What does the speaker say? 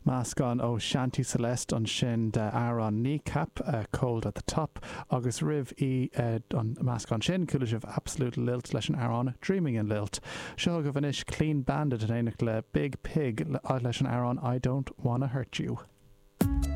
Meascán ó Shanti Celeste ansin d'amhrán Kneecap, Cold at the Top, agus roimh í an meascán sin, chuala sibh Absolute Lilt leis an amhrán Dreaming in Lilt. Seo chugaibh anois Clean Bandit in éineacht le Biig Piig leis an amhrán I Don't Wanna Hurt You.